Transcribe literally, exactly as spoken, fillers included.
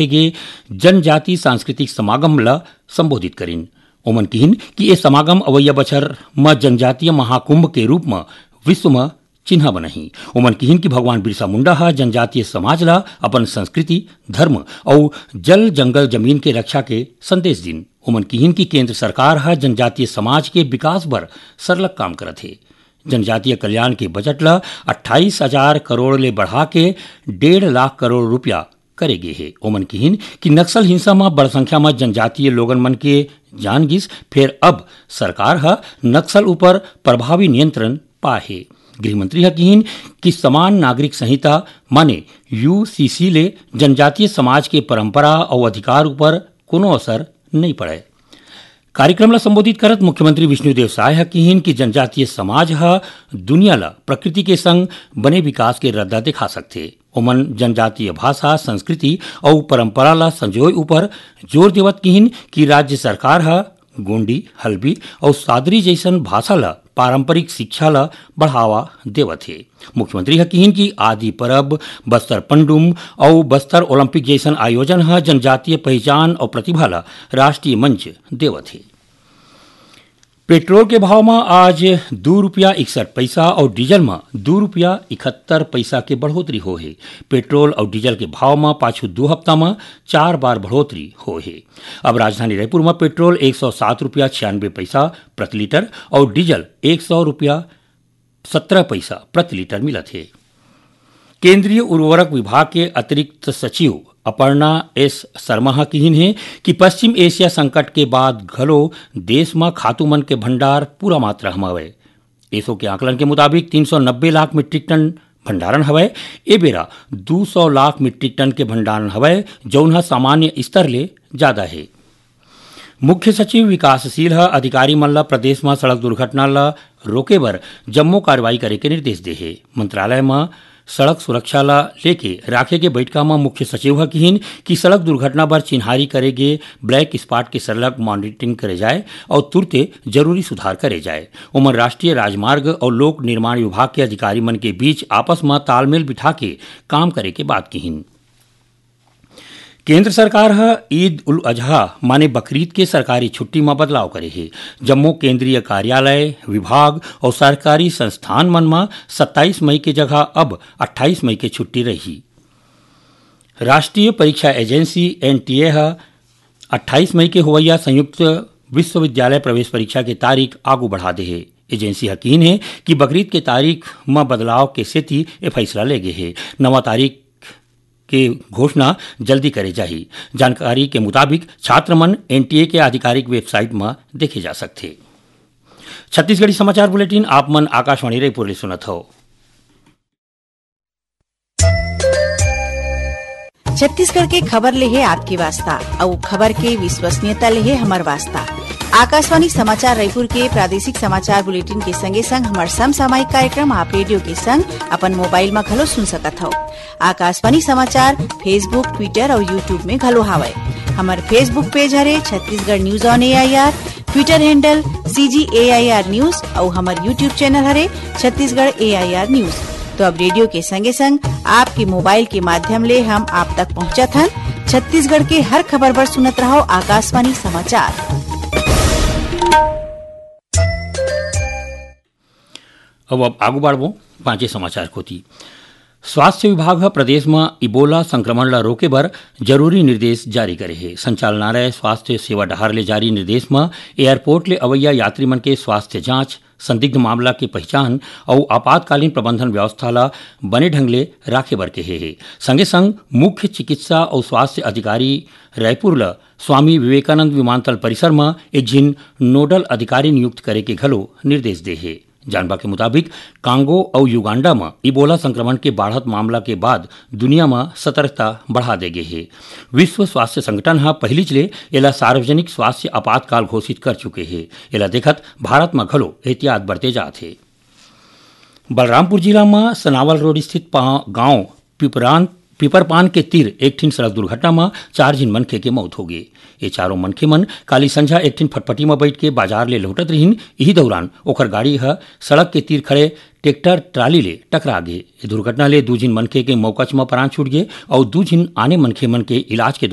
रखे गे जनजाति सांस्कृतिक समागम ल संबोधित करिन। ओमन किहिन कि ए समागम अवइया बछर म जनजातीय महाकुंभ के रूप म विश्व म चिन्हा बनही। ओमन किहिन कि भगवान बिरसा मुंडा ह जनजातीय समाज ल अपन संस्कृति, धर्म अउ जल जंगल जमीन के रक्षा के संदेश दिन। ओमन किहिन कि केंद्र सरकार ह जनजातीय समाज के विकास बर सरलग काम करत हे। जनजातीय कल्याण के बजट ल अट्ठाईस हजार करोड़ ले बढ़ा के डेढ़ लाख करोड़ रुपया करे गे हे। ओमन किहिन कि नक्सल हिंसा म बड़ संख्या म जनजातीय लोगन मन के जान गिस, फेर अब सरकार ह नक्सल ऊपर प्रभावी नियंत्रण पाए हे। गृह मंत्री ह किहिन कि समान नागरिक संहिता माने यूसीसी ले जनजातीय समाज के परंपरा अउ अधिकार ऊपर कोनो असर नइ पड़े। कार्यक्रम ल संबोधित करत मुख्यमंत्री विष्णुदेव साय ह किहिन कि जनजातीय समाज ह दुनिया ल प्रकृति के संग बने विकास के रद्दा दिखा सकथे। ओमन जनजातीय भाषा, संस्कृति अउ परंपरा ल संजोए ऊपर जोर देवत किहिन कि राज्य सरकार ह गोंडी, हल्बी अउ सादरी जइसन भाषा ल पारंपरिक शिक्षा ल बढ़ावा देवत हे। मुख्यमंत्री ह किहिन कि आदि परब, बस्तर पंडुम अउ बस्तर ओलंपिक जइसन आयोजन ह जनजातीय पहिचान अउ प्रतिभा ल राष्ट्रीय मंच देवत हे। पेट्रोल के भाव म आज दू रुपया इकसठ पइसा अउ डीजल म दू रुपया इकहत्तर पइसा के बढ़ोतरी होहे। पेट्रोल अउ डीजल के भाव म पाछू दू हफ्ता म चार बार बढ़ोतरी होहे। अब राजधानी रायपुर म पेट्रोल एक सौ सात रुपया छियानबे पइसा प्रति लीटर अउ डीजल एक सौ रुपया सत्रह पइसा प्रति लीटर मिलत हे। केंद्रीय उर्वरक विभाग के अतिरिक्त सचिव अपर्णा एस शर्मा ह किहिन हे कि पश्चिम एशिया संकट के बाद घलो देश म खातू मन के भंडार पूरा मात्रा म हवय। एसो के आकलन के मुताबिक तीन सौ नब्बे लाख मीट्रिक टन भंडारण हवय। ए बेरा दू सौ लाख मीट्रिक टन के भंडारण हवय, जउन ह सामान्य स्तर ले जादा हे। मुख्य सचिव विकासशील ह अधिकारी मन ल प्रदेश म सड़क दुर्घटना ल रोके बर जम्मो कार्रवाई करे के निर्देश दे हे। मंत्रालय म सड़क सुरक्षा ल लेके राखे गे बैठका म मुख्य सचिव ह किहिन कि सड़क दुर्घटना बर चिन्हारी करे गे ब्लैक स्पॉट के सरलग मॉनिटरिंग करे जाए अउ तुरते जरूरी सुधार करे जाए। ओमन राष्ट्रीय राजमार्ग अउ लोक निर्माण विभाग के अधिकारी मन के बीच आपस म तालमेल बिठा के काम करे के बात किहिन। केंद्र सरकार ह ईद उल अजहा माने बकरीद के सरकारी छुट्टी म बदलाव करे हे। जम्मो केंद्रीय कार्यालय, विभाग अउ सरकारी संस्थान मन म सत्ताईस मई के जगह अब अट्ठाईस मई के छुट्टी रही। राष्ट्रीय परीक्षा एजेंसी, एनटीए, ह अट्ठाईस मई के होवइया संयुक्त विश्वविद्यालय प्रवेश परीक्षा के तारीख आगू बढ़ा दे हे। एजेंसी ह किहिन हे कि बकरीद के तारीख म बदलाव के सेती ए फैसला ले गे हे। नवा तारीख के घोषणा जल्दी करे जाही। जानकारी के मुताबिक छात्र मन एनटीए के आधिकारिक वेबसाइट म देखे जा सकथे। छत्तीसगढ़ी समाचार बुलेटिन आप मन आकाशवाणी रायपुर ले सुनत हव। छत्तीसगढ़ के खबर ले हे आपके वास्ता, अउ खबर के विश्वसनीयता ले हे हमर वास्ता। आकाशवाणी समाचार रायपुर के प्रादेशिक समाचार बुलेटिन के संगे संग हमर समसामयिक कार्यक्रम आप रेडियो के संग अपन मोबाइल म घलो सुन सकत हव। आकाशवाणी समाचार Facebook, Twitter अउ YouTube में घलो हावय। हमर Facebook पेज हरे Chhattisgarh news on AIR, Twitter handle CG AIR news अउ हमर YouTube चैनल हरे छत्तीसगढ़ एआईआर न्यूज। तो अब रेडियो के संगे संग आपके मोबाइल के माध्यम ले हम आप तक पहुंचत हन। छत्तीसगढ़ के हर खबर बर सुनत रहव आकाशवाणी समाचार। अब, अब आगू बढ़बो पांचे समाचार कोती। स्वास्थ्य विभाग ह प्रदेश म इबोला संक्रमण ल रोके बर जरूरी निर्देश जारी करे हे। संचालनालय स्वास्थ्य सेवा डहार ले जारी निर्देश म एयरपोर्ट ले अवइया यात्री मन के स्वास्थ्य जांच, संदिग्ध मामला के पहिचान अउ आपातकालीन प्रबंधन व्यवस्था ल बने ढंग ले राखे बर केहे हे। संगे संग मुख्य चिकित्सा अउ स्वास्थ्य अधिकारी रायपुर ल स्वामी विवेकानंद विमानतल परिसर म एक झिन नोडल अधिकारी नियुक्त करे के घलो निर्देश दे हे। जानबा के मुताबिक, कांगो अउ युगांडा म इबोला संक्रमण के बाढ़त मामला के बाद दुनिया म सतर्कता बढ़ा दे गे हे। विश्व स्वास्थ्य संगठन ह पहिलीच ले एला सार्वजनिक स्वास्थ्य आपातकाल घोषित कर चुके हे। एला देखत भारत म घलो एहतियात बरते जात हे। बलरामपुर जिला म सनावल रोड स्थित पा-, गांव पिपरान, पिपरपान के तीर एक ठिन सड़क दुर्घटना म चार झिन मनखे के मौत होगे। ये चारों मनखे मन काली संझा एक ठिन फटफटी म बइठ के बाजार ले लौटत रिहिन। इही दौरान ओखर गाड़ी ह सड़क के तीर खड़े ट्रैक्टर ट्राली ले टकरा गे। ये दुर्घटना ले दू झिन मनखे के मौकच म प्राण छूट गे अउ दू झिन आने मनखे मन के इलाज के